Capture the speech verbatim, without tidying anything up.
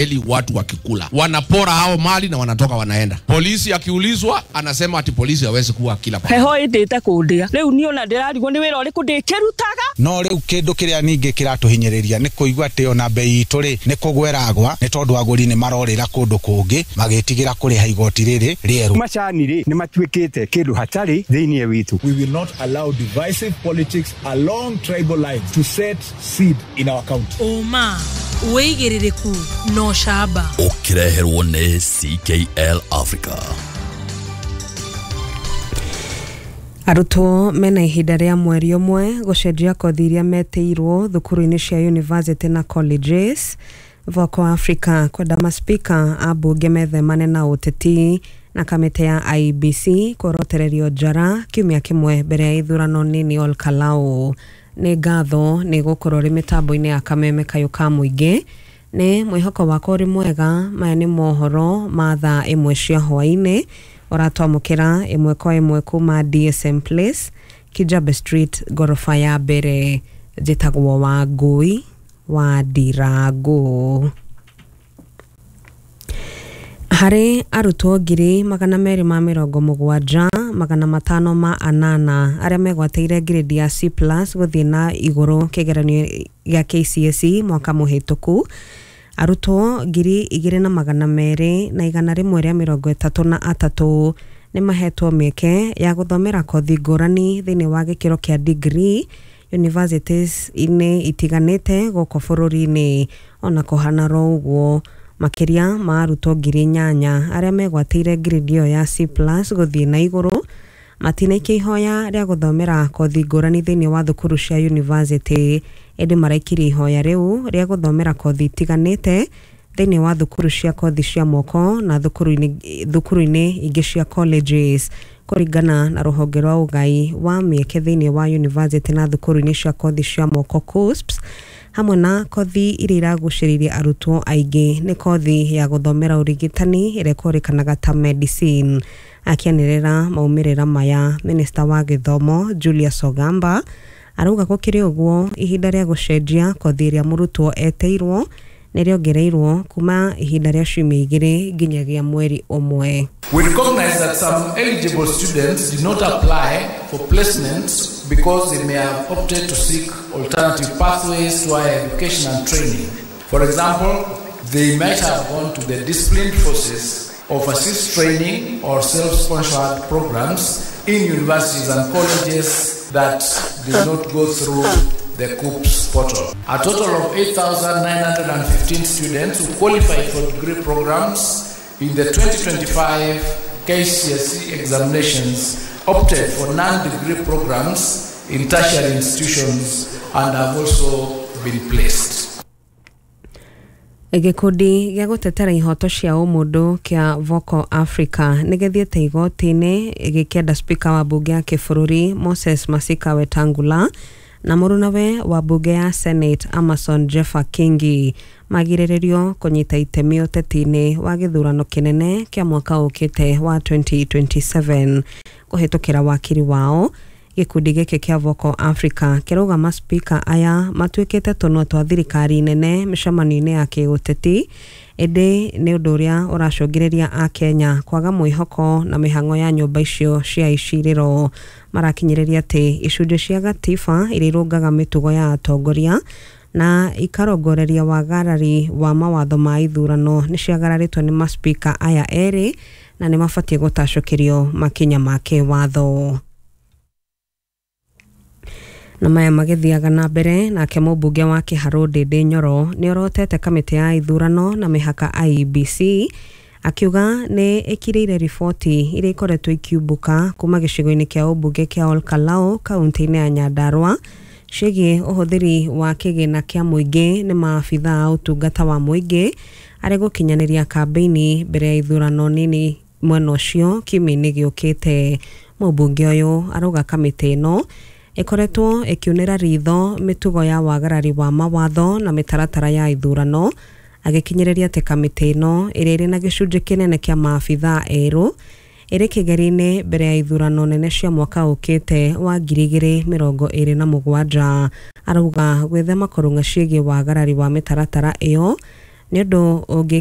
Eli watu wakikula wanapora hao mali na wanatoka wanaenda. Polisi akiulizwa anasema ati polisi hawezi kuwa kila pahali. Heho ĩndĩte kũndĩa rĩu niĩ ona ndĩrarigwo nĩ wĩra ũrĩkũ ndĩkĩrutaga. No rĩu kĩndũ kĩrĩa ningĩ kĩratũhinyĩrĩria nĩ kũigua atĩ ona bei itũ rĩ nĩ kũgweragwa nĩ tondũ agũri nĩ marorĩra kũndũ kũngĩ magĩtigĩra kũrĩha igoti rĩrĩ rĩerũ. Macani rĩ nĩ matuĩkĩte kĩndũ hatarĩ thĩinĩ witũ. We will not allow divisive politics along tribal lines to set seed in our county. Ũma wĩigĩrĩrĩku no camba ũkĩreherwo nĩ C K L Africa. Arutwo mena ihinda rĩa mweri ũmwe gũcenjia kothi iria metĩirwo thukuru-inĩ cia university na colleges. Voco Africa kwenda maspika a mbunge methemane na ũteti na kamĩtĩ ya I B C kworotererio njara kiumia kĩmwe mbere ya ithurano nini Ol Kalou. Nĩ ngatho nĩ gũkorwo rĩ mĩtambo-inĩ ya kameme kayũ ka mũingĩ. Nĩ mwĩhoko wakwa ũrĩ mwega. Maya nĩ mohoro ma thaa ĩmwe cia hwaĩ-inĩ ũratwamũkĩra ĩmwe kwa ĩmwe kuma D S M Place, Kijabe Street, gorofa ya mbere. Njĩtagwo Wangũi wa Ndirangũ. Harĩ arutwo ngiri magana merĩ ma mĩrongo mũgwanja magana matano ma anana arĩa megwatĩire grade ya C plus gũthiĩ na igũrũ kĩgeranio gĩa K C S E mwaka mũhĩtũku, arutwo ngiri igĩrĩ na magana merĩ na igana rĩmwe rĩa mĩrongo ĩtatũ na atatũ nĩ mahetwo mĩeke ya gũthomera kothi ngũrani thĩinĩ wa gĩkĩro kĩa degree universities-inĩ itiganĩte gũkũ bũrũri-inĩ. Ona kũhana ro ũguo, makĩria ma arutwo ngiri inyanya arĩa megwatĩire grade ĩyo ya C plus gũthiĩ na igũrũ matinaikia ihoya rĩa gũthomera kothi ngũrani thĩinĩ wa thukuru cia university, ĩndĩ maraikirie ihoya rĩu rĩa gũthomera kothi itiganĩte thĩinĩ wa thukuru cia kothi cia moko na thukuru-inĩ thukuru-inĩ ingĩ cia colleges. Kũringana na rũhonge rwa ũgai wa mĩeke thĩinĩ wa university na thukuru-inĩ cia kothi cia moko KUCCPS, hamwe na kothi iria iragucĩrĩirie arutwo aingĩ nĩ kothi ya gũthomera ũrigitani ĩrĩa ĩkũrĩkanaga ta medicine. Akĩanĩrĩra maumĩrĩra maya, Minista wa Gĩthomo Julius Ogamba arauga gũkĩrĩ ũguo ihinda rĩa gũcenjia kothi ĩrĩa mũrutwo eteirwo nĩ rĩongereirwo kuma ihinda rĩa ciumia igĩrĩ nginyagia mweri ũmwe. We recognize that some eligible students did not apply for placements because they may have opted to seek alternative pathways to higher education and training. For example, they might have gone to the disciplined forces, overseas training or self-sponsored programs in universities and colleges that did not go through the KUCCPS portal. A total of eight thousand nine hundred fifteen students who qualified for degree programs in the twenty twenty-five K C S E examinations opted for non-degree programs in tertiary institutions and have also been placed. Gĩkundi gĩa gũtetera ihoto cia ũmũndũ kĩa Voco Africa nĩ gĩthiĩte igoti-inĩ gĩkĩenda spika wa mbunge ya kĩbũrũri Moses Masika Wetangula na mũrunawe wa mbunge ya Senate Amason Jeffa Kingi magirĩrĩrio kũnyita itemi ũteti-inĩ wa gĩthurano kĩnene kĩa mwaka ũkĩte wa twenty twenty-seven. Kũhĩtũkĩra wakiri wao, gĩkundi gĩkĩ kĩa Voco Africa kĩrauga maspika aya matuĩkĩte tũnua twa thirikari nene mĩcemanio-inĩ ya kĩũteti, ĩndĩ nĩ ũndũ ũrĩa ũracũngĩrĩria akenya kwaga mwĩhoko na mĩhang'o ya nyũmba icio cia icirĩro. Marakinyĩrĩria atĩ icunjĩ cia gatiba iria irũngaga mĩtugo ya atongoria na ikarongoreria wagarari wa mawatho ma ithurano nĩ ciagararĩtwo nĩ maspika aya erĩ na nĩ mabatiĩ gũtacũkĩrio makinya ma kĩwatho. Na maya magĩthiaga na mbere, nake mũmbunge wa Kĩharũ Ndĩndĩ Nyoro nĩ orotete kamĩtĩ ya ithurano na mĩhaka I E B C akiuga nĩ ĩkirĩire riboti iria ikoretwo ikiumbũka kuma gĩcigo-inĩ kĩa ũmbunge kĩa Ol Kalou kaunti-inĩ ya Nyandarua ciĩgiĩ ũhũthĩri wa kĩgĩna kĩa mũingĩ nĩ maabithaa a ũtungata wa mũingĩ arĩ gũkinyanĩria kambĩini mbere ya ithurano nini mwena ũcio kiumia-inĩ gĩũkĩte. Mũmbunge ũyũ arauga kamĩtĩ ĩno ĩkoretwo ĩkiunĩra ritho mĩtugo ya wagarari wa mawatho na mĩtaratara ya ithurano, agĩkinyĩrĩria atĩ kamĩtĩ ĩno ĩrĩa ĩrĩ na gĩcunjĩ kĩnene kĩa maabithaa erũ ĩrĩ kĩgeri-inĩ mbere ya ithurano nene cia mwaka ũkĩte wa ngiri igĩrĩ mĩrongo ĩrĩ na mũgwanja. Arauga gwĩthema kũrũng'a ciĩgiĩ wagarari wa mĩtaratara ĩyo Nĩ ũndũ ũngĩ.